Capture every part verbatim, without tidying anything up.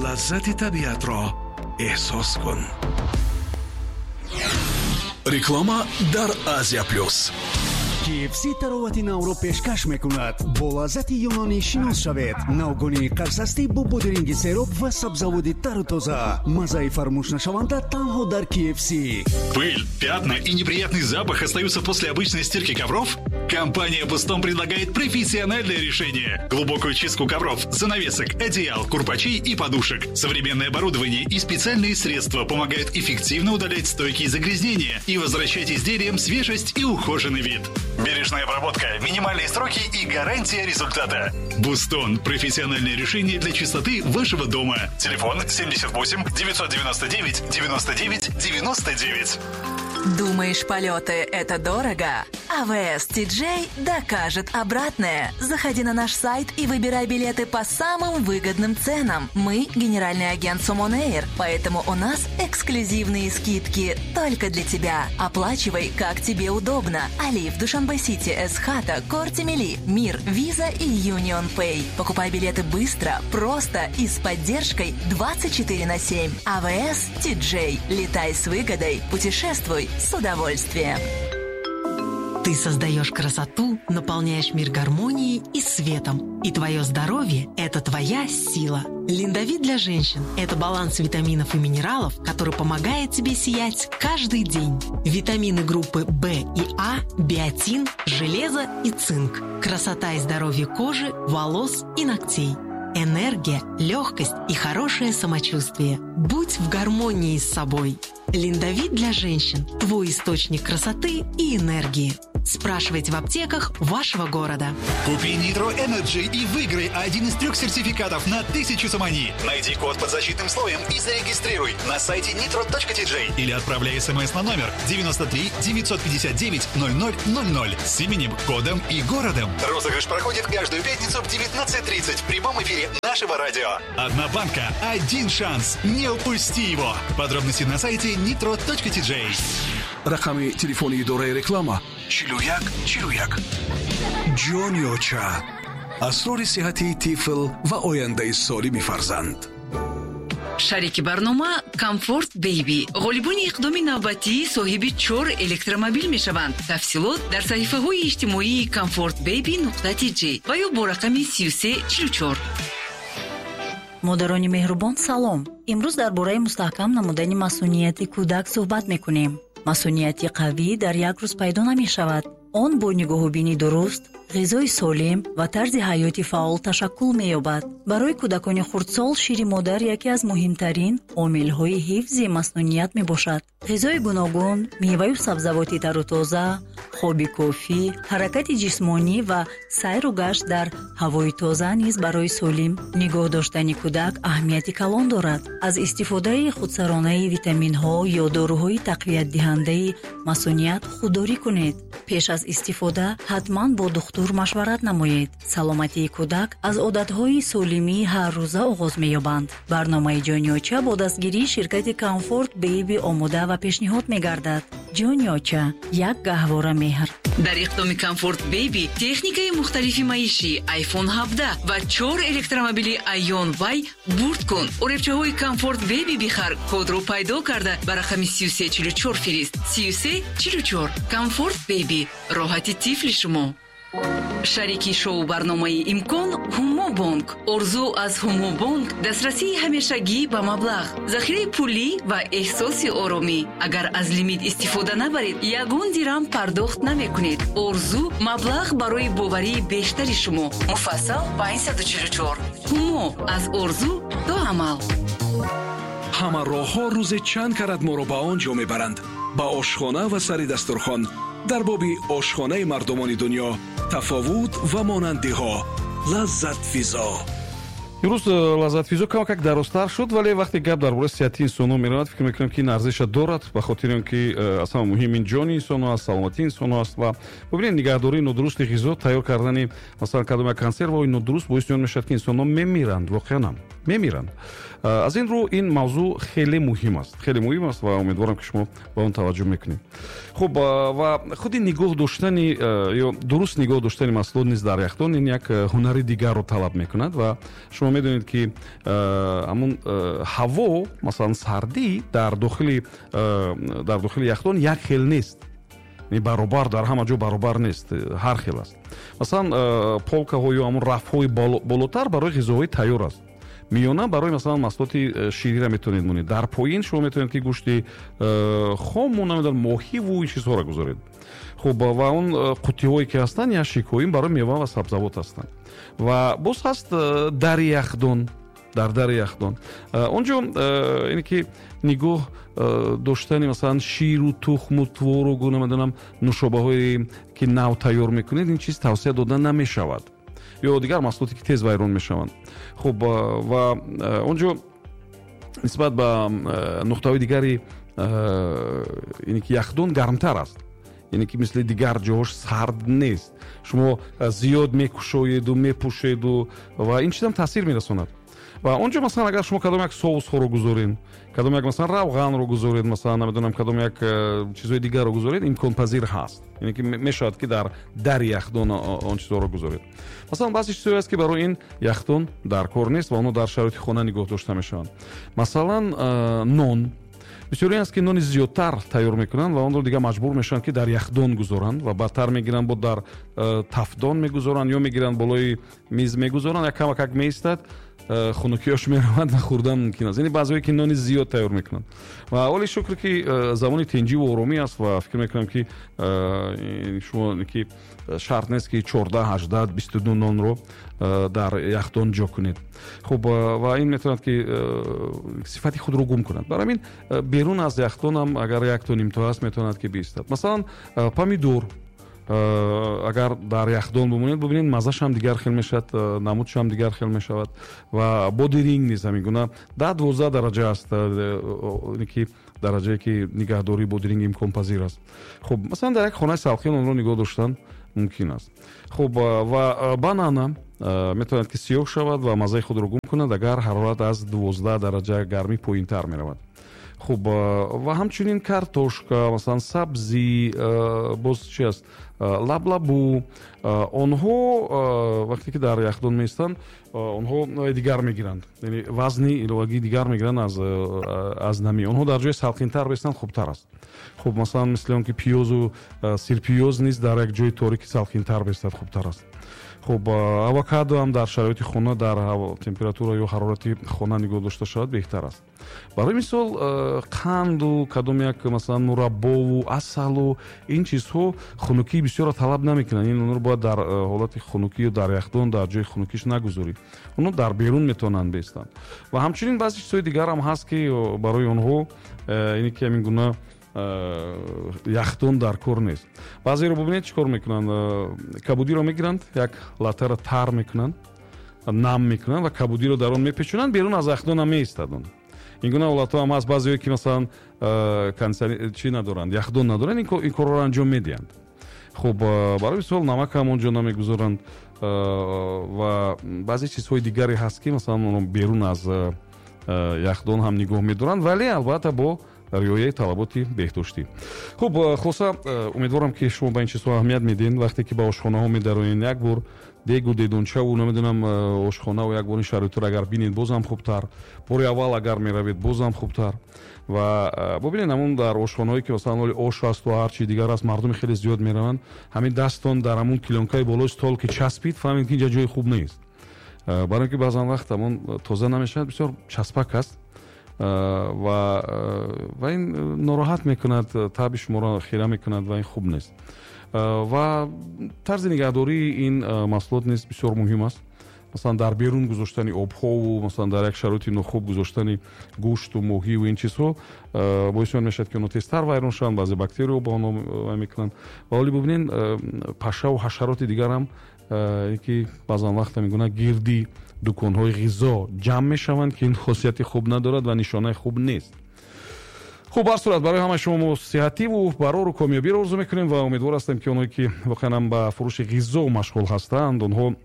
Лаззати табиатро эҳсос кун. Реклама дар Азия Плюс. K F C таровати навро пешкаш мекунад. Бо лаззати юнонӣ шинос шавед. Навгонии қарсастӣ бо бодиринги сероб ва сабзаводи тару тоза. Маззаи фаромӯшнашаванда танҳо дар K F C. Пыль, пятна и неприятный запах остаются после обычной стирки ковров? Компания «Бустон» предлагает профессиональное решение. Глубокую чистку ковров, занавесок, одеял, курпачей и подушек. Современное оборудование и специальные средства помогают эффективно удалять стойкие загрязнения и возвращать изделиям свежесть и ухоженный вид. Бережная обработка, минимальные сроки и гарантия результата. «Бустон» – профессиональное решение для чистоты вашего дома. Телефон семьдесят восемь девятьсот девяносто девять девяносто девять девяносто девять. Думаешь, полеты – это дорого? А В С T J докажет обратное. Заходи на наш сайт и выбирай билеты по самым выгодным ценам. Мы – генеральный агент Сомон Эйр, поэтому у нас эксклюзивные скидки только для тебя. Оплачивай, как тебе удобно. Алиф, Душанбе Сити, Эсхата, Корти Мили, Мир, Виза и Юнион Пэй. Покупай билеты быстро, просто и с поддержкой двадцать четыре на семь. А В С T J. Летай с выгодой, путешествуй с удовольствием. Ты создаешь красоту, наполняешь мир гармонией и светом. И твое здоровье – это твоя сила. Линдовит для женщин – это баланс витаминов и минералов, который помогает тебе сиять каждый день. Витамины группы В и А, биотин, железо и цинк. Красота и здоровье кожи, волос и ногтей. Энергия, легкость и хорошее самочувствие. Будь в гармонии с собой. Линдовит для женщин – твой источник красоты и энергии. Спрашивайте в аптеках вашего города. Купи Nitro Energy и выиграй один из трех сертификатов на тысячу сомони. Найди код под защитным слоем и зарегистрируй на сайте nitro точка T J или отправляй смс на номер девяносто три девятьсот пятьдесят девять ноль ноль ноль ноль с именем, кодом и городом. Розыгрыш проходит каждую пятницу в девятнадцать тридцать в прямом эфире нашего радио. Одна банка, один шанс. Не упусти его. Подробности на сайте nitro точка T J. Рақами телефони идораи реклама чилу як чилу як. Ҷони оча, асрори сиҳати тифл ва ояндаи солими фарзанд. Шарики барнома Комфорт Бейби. Ғолибони иқдоми навбатӣ соҳиби чор электромобил мешаванд. Тафсилот дар саҳифаҳои иҷтимоии Комфорт Бейби нуқта тиҷи ва ё бо рақами сию се чилу чор. Модарони меҳрубон, салом! Имрӯз дар бораи мустаҳкам намудани масунияти кӯдак суҳбат мекунем. Масунияти қавӣ дар як рӯз пайдо намешавад. Он бо нигоҳубини дуруст, ғизои солим ва тарзи ҳаёти фаъол ташаккул меёбад. Барои кӯдакони хурдсол шири модар яке аз муҳимтарин омилҳои ҳифзи маснуният мебошад. Ғизои гуногун, меваю сабзавоти тару тоза, хоби кофӣ, ҳаракати ҷисмонӣ ва сайру гашт дар ҳавои тоза низ барои солим нигоҳ доштани кӯдак аҳамияти калон дорад. Аз истифодаи худсаронаи витаминҳо ё доруҳои тақвиятдиҳандаи масуният худдорӣ кунед. Пеш аз истифода ҳатман бо духтур машварат намоед. Саломатии кӯдак аз одатҳои солимии ҳаррӯза оғоз меёбанд. Барномаи Ҷони оча бо дастгирии ширкати Комфорт Бейби омода ва пешниҳод мегардад. Ҷони оча, як гаҳвора меҳр. Дар иқдоми Комфорт Бейби техникаи мухталифи маишӣ, iPhone ҳабдаҳ ва чор электромобили Айон Вай бурд кун. Оребчаҳои Комфорт Бейби бихар, кодро пайдо карда, ба рақами сию се чилу чор фирист. сию се чилу чор. Комфорт Бейби, роҳати тифли шумо. Шарики шоу барномаи Имкон Ҳумо Бонк. Орзу аз Ҳумо Бонк: дастрасии ҳамешагӣ ба маблағ, захираи пулӣ ва эҳсоси оромӣ. Агар аз лимит истифода набаред, ягон дирам пардохт намекунед. Орзу: маблағ барои боварии бештари шумо. Муфассал панҷсаду чилу чор. Ҳумо: аз орзу то амал. Ҳама роҳҳо рӯзе чанд карат моро ба он ҷо мебаранд, ба ошхона ва сари дастурхон. Дар боби ошхонаи мардумони дунё, тафовут ва монандиҳо. Лаззатфизо. Имрӯз э, Лаззатфизо камакак дарозтар шуд, вале вақте гап дар бораи сиҳати инсонҳо меравад, фикр мекунам, ки ин арзиша дорад, ба хотири он ки э, аз ҳама муҳим ин ҷони инсонҳо аст, саломатии инсонҳо аст. Ва бубинед, нигаҳдории нодурусти ғизо, тайёр кардани, масалан, кадом як консерваҳои нодуруст боиси он мешавад, ки инсонҳо мемиранд, воқеан ҳам мемиранд. Э, аз ин рӯ ин мавзӯъ хеле муҳим аст, хеле муҳим аст ва умедворам, ки шумо ба он таваҷҷӯҳ мекунед. Хуб, ва худи нигоҳ доштани ё дуруст нигоҳ доштани маҳсулот низ дар яхдон ин як ҳунари дигарро талаб мекунад ва шумо Медонед, ки ҳамун ҳаво, масалан сардӣ дар дохили дар дохили яхдон як хел нест, баробар дар ҳама ҷо баробар нест, ҳар хел аст. Масалан, полкаҳо ё ҳамун рафҳои болотар барои ғизоҳои тайёр аст, миёна барои масалан маҳсулоти шириро метавонед монед, дар поин шумо метавонед ки гӯшти хому, намедонам, моҳиву ин чизҳоро гузоред. Хуб, ва он қуттиҳое ки ҳастанд, ящикҳо, ин барои мева ва сабзавот ҳастанд. Ва боз ҳаст дари яхдон. Дар дари яхдон онҷо ине ки нигоҳ доштани масалан ширу тухму творогу, намедонам, нӯшобаҳое ки нав тайёр мекунед, ин чиз тавсия дода намешавад, ё дигар маҳсулоте ки тез вайрон мешаванд. Хуб, ва онҷо нисбат ба нуқтаҳои дигари ине ки яхдон гармтар аст, яъне ки мисли дигар ҷоҳош сард нест. Шумо зиёд мекушоеду мепӯшеду ва ин чизам таъсир мерасонад. Ва онҷо масалан агар шумо кадом як соусҳоро гузоред, кадом як масалан равғанро гузоред, масалан намедонам, кадом як чизҳои дигарро гузоред, имконпазир ҳаст, яъне ки мешавад ки дар дари яхдон он чизҳоро гузоред. Масалан, баъзе чизҳое аст ки барои ин яхдон дар кор нест ва онҳо дар шароити хона нигоҳ дошта мешаванд. Масалан, нон. Бисёре аст ки нони зиёдтар тайёр мекунанд ва онро дигар маҷбур мешаванд ки дар яхдон гузоранд ва баъдтар мегиранд, бо дар тафдон мегузоранд ё мегиранд болои миз мегузоранд, як камакак меистад, хунукиёш меравад ва хӯрдан мумкин аст. Яъне баъзеҳое ки нони зиёд тайёр мекунанд. Ва оли шукр ки замони тинҷиву оромӣ аст ва фикр мекунам ки шумо ки шарт нест ки чордаҳ, ҳаждаҳ, бисту ду нонро дар яхдон ҷо кунед. Хуб, ва ин метавонад ки сифати худро гум кунад. Барои ҳамин берун аз яхдон ҳам агар якто нимто аст, метавонад ки биистад. Масалан, помидор агар дар яхдон бимонед, бибинед, маззаш ҳам дигар хел мешавад, намудш ҳам дигар хел мешавад. Ва бодиринг низ ҳамин гуна даҳ дувоздаҳ дараҷа аст, ки дараҷае ки нигаҳдории бодиринг имконпазир аст. Хуб, масалан дар як хонаи салқин онро нигоҳ доштан мумкин аст. Хуб, ва банана метавонад ки сиёҳ шавад ва маззаи худро гум кунад агар ҳарорат аз дувоздаҳ дараҷа гармӣ поинтар меравад. Хуб, ва ҳамчунин картошка, масалан сабзӣ, боз чи аст, лаблабу, онҳо вақте ки дар яхдон меистанд, онҳо дигар мегиранд, яъне вазни иловагии дигар мегиранд аз аз намӣ. Онҳо дар ҷои салқинтар бистанд хубтар аст. Хуб, масалан мисли он ки пиёзу сирпиёз низ дар як ҷои торики салқинтар бистад хубтар аст. Хуб, авокадо ҳам дар шароити хона дар температура ё ҳарорати хона нигоҳ дошта шавад беҳтар аст. Барои мисол, қанду кадом як масалан мураббову асалу ин чизҳо хунукии бисёрро талаб намекунанд. Ин онро бояд дар ҳолати хунукӣ ё дар яхдон дар ҷои хунукиш нагузорӣ. Онҳо дар берун метавонанд бистанд. Ва ҳамчунин баъзе чизҳои дигар ҳам ҳаст ки барои онҳо ине ки ҳамин гуна яхдон дар кор нест. Баъзеро бубинед чӣ кор мекунанд, кабудиро мегиранд, як латтаро тар мекунанд, нам мекунанд ва кабудиро дар он мепечонанд, берун аз яхдон ҳам меистад он. Ин гуна ҳолатҳо ҳам ҳаст. Баъзеҳое ки масалан чӣ надоранд, яхдон надоранд, ин корро анҷом медиҳанд. Хуб, барои мисол намак ҳам онҷо намегузоранд ва баъзе чизҳои дигаре ҳаст ки масалан онро берун аз яхдон ҳам нигоҳ медоранд, вале албатта бо риояи талаботи беҳдоштӣ. Хуб, хулоса, умедворам ки шумо ба ин чизҳо аҳамият медиҳед. Вақте ки ба ошхонаҳо медароед, як бор дегу дедончаву намедонам ошхонаву як бор ин шароитро агар бинед, боз ҳам хубтар. Бори аввал агар меравед, боз ҳам хубтар. Ва бубинед, ҳамун дар ошхонаҳое ки масалан оли ош аст ва ҳар чи дигар аст, мардуми хеле зиёд мераванд. Ҳамин дастон дар ҳамун килонкаи болои стол ки часпид, фаҳмед ки инҷа ҷои хуб нест. Барои ин ки баъзан вақт ҳамон тоза намешавад, бисёр часпак аст ва ва ин нороҳат мекунад, таби шуморо хира мекунад ва ин хуб нест. Ва тарзи нигаҳдории ин маҳсулот низ бисёр муҳим аст. Масалан дар берун гузоштани обҳову масалан дар як шароити нохуб гузоштани гӯшту моҳиву ин чизҳо боиси он мешавад ки онҳо тезтар вайрон шаванд, баъзе бактерияҳо ба онҳо вай мекунанд. Ва оли бубинед, пашаву ҳашароти дигар ҳам ки баъзан вақт ҳамин гуна гирди дуконҳои ғизо ҷамъ мешаванд ки ин хосияти хуб надорад ва нишонаи хуб нест. Хуб, ҳар сурат барои ҳамаи шумо мо сиҳативу барору комёбиро орзу мекунем ва умедвор ҳастем ки онҳое ки воқеан ҳам ба фурӯши ғизо машғул ҳастанд, онҳо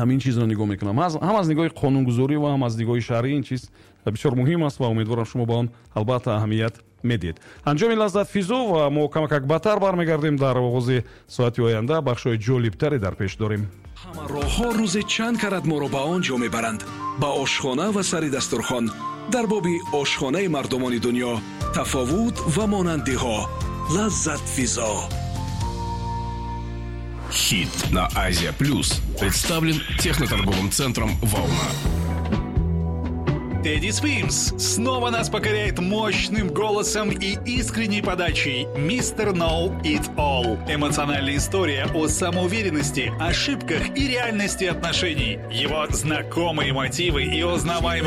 ҳамин чизро нигоҳ мекунанд. Ҳам аз нигоҳи қонунгузорӣ ва ҳам аз нигоҳи шаръӣ ин чиз бисёр муҳим аст ва умедворам шумо ба он албатта аҳамият медиҳед. Анҷоми лаззат физо ва мо камакак баъдтар бармегардем. Дар оғози соати оянда бахшҳои ҷолибтаре дар пеш дорем. Ҳама роҳҳо рӯзе чанд карат моро ба он ҷо мебаранд, ба ошхона ва сари дастурхон. Дар боби ошхонаи мардумони дунё, тафовут ва монандиҳо. Лаззатфизо. Хит на Азия Плюс представлен техноторговым центром «Волна». Тедди Свимс снова нас покоряет мощным голосом и искренней подачей «Mister Know It All». Эмоциональная история о самоуверенности, ошибках и реальности отношений. Его знакомые мотивы и узнаваемый